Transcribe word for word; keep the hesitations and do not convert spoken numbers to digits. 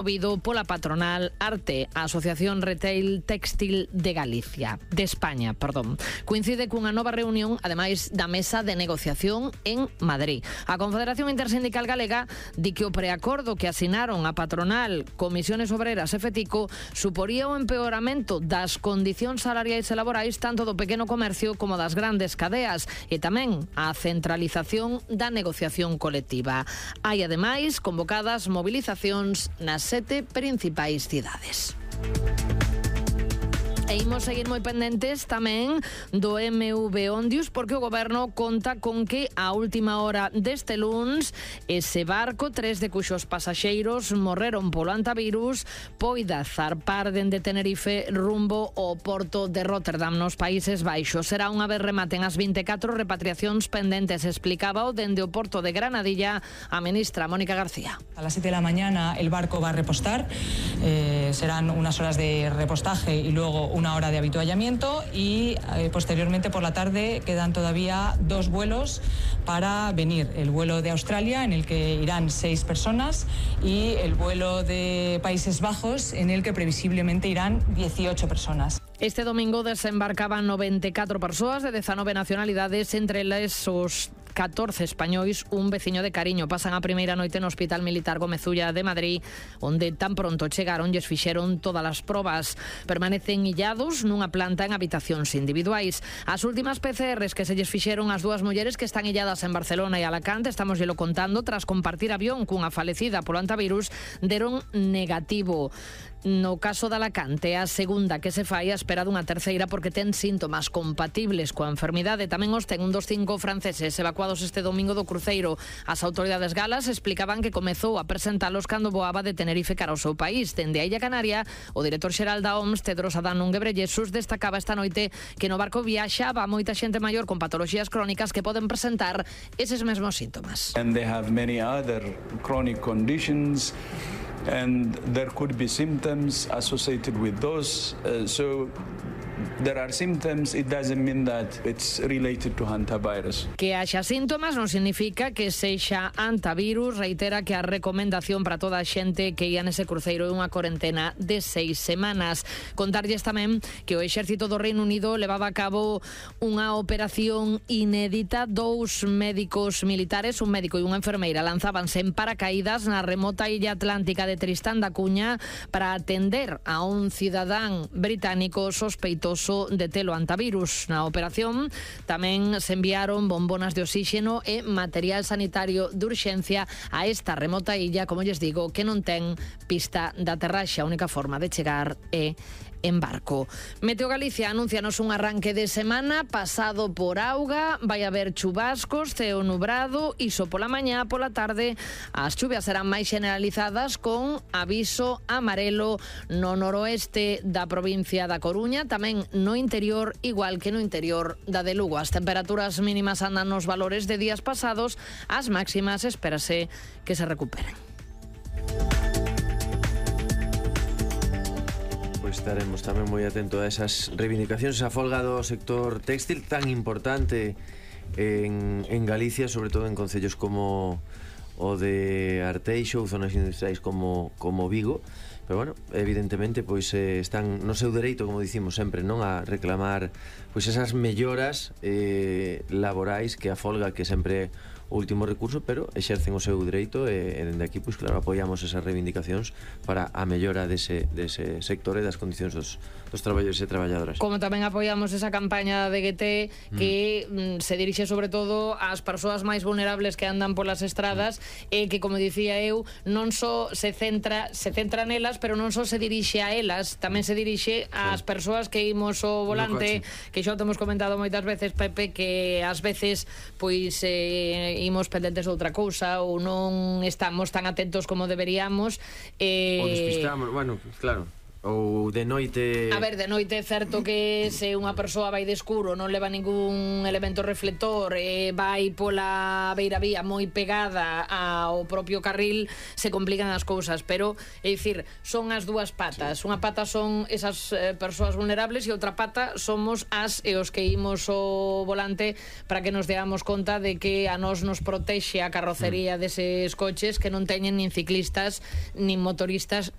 Movido pola patronal Arte, a Asociación Retail Textil de Galicia, de España, perdón. Coincide cunha nova reunión, ademais da mesa de negociación en Madrid. A Confederación Intersindical Galega di que o preacordo que asinaron a patronal, Comisiones Obreras e Fetico suporía o empeoramento das condicións salariais e laborais tanto do pequeno comercio como das grandes cadeas e tamén a centralización da negociación colectiva. Hai ademais convocadas movilizacións nas sete principais cidades. E imos seguir moi pendentes tamén do M V Ondius porque o Goberno conta con que a última hora deste luns ese barco, tres de cuxos pasaxeiros morreron polo antivirus, poida zarpar dende Tenerife rumbo ao porto de Rotterdam nos Países Baixos. Será unha vez rematen as vinte e catro repatriacións pendentes, explicaba o dende o porto de Granadilla a ministra Mónica García. A las siete de la mañana el barco va a repostar, eh, serán unas horas de repostaje y luego una hora de habituallamiento y eh, posteriormente por la tarde quedan todavía dos vuelos para venir. El vuelo de Australia en el que irán seis personas y el vuelo de Países Bajos en el que previsiblemente irán dieciocho personas. Este domingo desembarcaban noventa e catro persoas de dezanove nacionalidades, entre eles os catorce españois, un veciño de cariño. Pasan a primeira noite no Hospital Militar Gómez Ulla de Madrid, onde tan pronto chegaron lles fixeron todas as probas. Permanecen illados nunha planta en habitacións individuais. As últimas P C Rs que se lles fixeron as dúas mulleres que están illadas en Barcelona e Alacante, estamos llelo contando, tras compartir avión cunha falecida polo antivirus, deron negativo. No caso de Alacante, a segunda que se fai a espera dunha terceira porque ten síntomas compatibles coa enfermidade. Tamén os ten un dos cinco franceses evacuados este domingo do cruceiro. As autoridades galas explicaban que comezou a presentalos cando voaba de Tenerife cara ao seu país. Dende a Illa Canaria, o director xeral da O M S, Tedros Adhanom Ghebreyesus, destacaba esta noite que no barco viaxaba moita xente maior con patoloxías crónicas que poden presentar eses mesmos síntomas. And they have many other chronic conditions. And there could be symptoms associated with those. Uh, so there are symptoms, it doesn't mean that it's related to hantavirus. Que haxa síntomas non significa que sexa antivirus. Reitera que a recomendación para toda a xente que ia nese cruceiro é unha corentena de seis semanas. Contarlles tamén que o exército do Reino Unido levaba a cabo unha operación inédita. Dous médicos militares, un médico e unha enfermeira, lanzábanse en paracaídas na remota illa atlántica de Tristán da Cuña para atender a un cidadán británico sospeitoso de telo antivirus. Na operación tamén se enviaron bombonas de oxígeno e material sanitario de urxencia a esta remota illa, como lles digo, que non ten pista de aterraxe. A única forma de chegar é en barco. Meteo Galicia anuncianos un arranque de semana pasado por auga, vai haber chubascos, ceo nubrado, iso pola mañá, pola tarde as chuvias serán máis generalizadas con aviso amarelo no noroeste da provincia da Coruña, tamén no interior, igual que no interior da de Lugo. As temperaturas mínimas andan nos valores de días pasados, as máximas espérase que se recuperen. Estaremos tamén moi atento a esas reivindicacións, a folga do sector textil tan importante en, en Galicia, sobre todo en concellos como o de Arteixo ou zonas industriais como, como Vigo. Pero bueno, evidentemente pois eh, están no seu dereito, como dicimos sempre, non, a reclamar pois esas melloras eh, laborais que a folga, que sempre o último recurso, pero exercen o seu dereito e, e dende aquí, pois claro, apoiamos esas reivindicacións para a mellora dese, dese sector e das condicións dos, dos traballadores e traballadoras. Como tamén apoiamos esa campaña de G T que mm. se dirixe sobre todo ás persoas máis vulnerables que andan polas estradas e que, como dicía eu, non só se centra se centra nelas, pero non só se dirixe a elas, tamén se dirixe ás sí. persoas que imos o volante, que xa o temos comentado moitas veces, Pepe, que ás veces pois eh, imos pendentes de outra cousa ou non estamos tan atentos como deberíamos, eh... ou despistamos, bueno, claro, Ou de noite... A ver, de noite é certo que se unha persoa vai de escuro, non leva ningún elemento reflector, e vai pola beira vía moi pegada ao propio carril, se complican as cousas, pero é dicir, son as dúas patas. Unha pata son esas eh, persoas vulnerables e outra pata somos as e os que imos o volante para que nos deamos conta de que a nós nos protexe a carrocería deses coches que non teñen nin ciclistas nin motoristas